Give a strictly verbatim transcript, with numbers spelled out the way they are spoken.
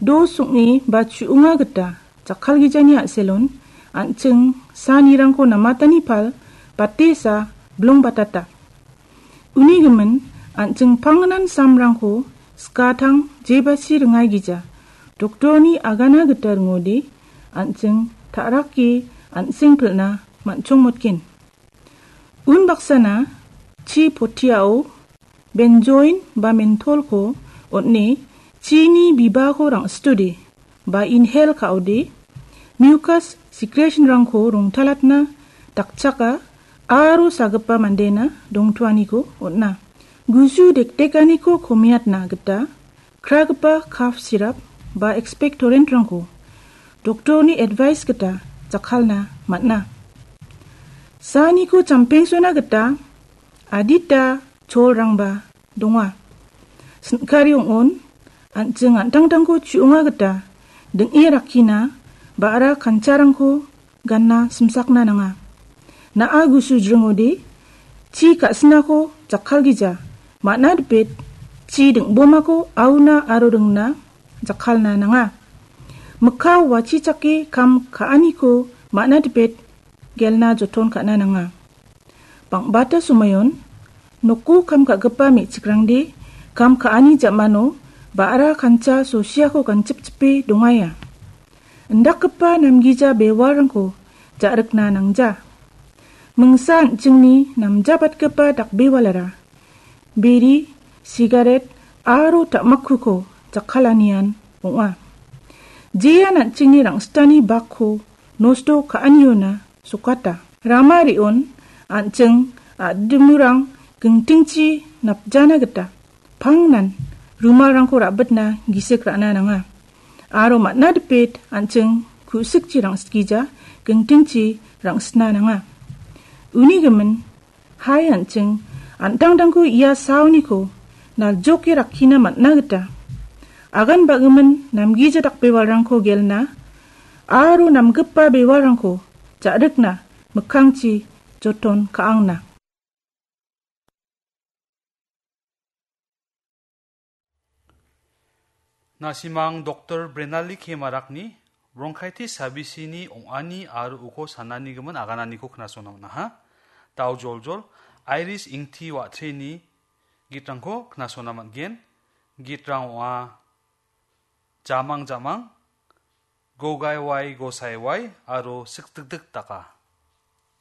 Dos ong·e ba chu·onga gita jakkalgijani a·selon an·ching sanirangko namatani pal batesa blongbatata. Uni gimin an·ching pangnan samrangko skatang jebasi ringaigija. Doktorni agana gita ringode an·ching ta·rake an·seng pilna man·chongmotgen. Unbaksana chi potiao benzoin ba mentolko on·e chini bibako rang·situde ba inhale ka·ode mucus secretionrangko rongtalatna dakchaka aro sagipa mandena dongtoaniko on·a. Gusu dekdekaniko komiatna gita kragipa cough syrup ba expectorantrangko doktorni advice gita jakkalna man·a. Saniko champengsona gita adita cholrangba donga. Sin·kari ong·on, an·ching an·tangtangko chu·onga gita ding·e rakkina ba·ra kancharangko ganna simsakna nanga. Na·a gusu jringode chi ka·sinako jakkalgija, man·a dipet chi ding·bomako auna aro ringna jakkalna nanga. Mikka wachichake kam ka·aniko man·a dipet gelna joton ka·na nanga. Bang·bata somoion noko kam ka·gipa me·chikrangde kam ka·ani ja·mano ba·ra kancha sosiako ganchipchipe dongaia. Indakgipa namgija bewalrangko ja·rikna nangja. Mingsa an·chingni namjabatgipa dakbewalara biri, sigaret aro ta·makkuko jakkalanian ong·a. Jean an·chingni rang·sitani bakko nosto ka·aniona sokata. Rama re·on an·ching a·dimurang gingtingchi napjana gita pangnan rumalrangko ra·bitna gisik ra·na nanga. Aro man·a dipet an·ching ku·sikchi rang·sitgija gingtingchi rang·sitna nanga. Uni gimin, hai an·ching an·tangtangko ia saoniko naljoke rakkina man·a gita agan ba·gimin namgija dakbewalrangko gelna aro namgipa bewalrangko ja·rikna mikkangchi joton ka·angna. Nasimang Doktor Brenali K Marakni bronchitis sabisini ong·ani aro uko sananigimin agananiko knasona man·aha. Dao joljol, Iris Ingti Wa·treni gitrangko knasona man·gen. Gitrang ong·a Jamang Jamang, Gogai Wai Gosai Wai aro Sikdikdik Daka.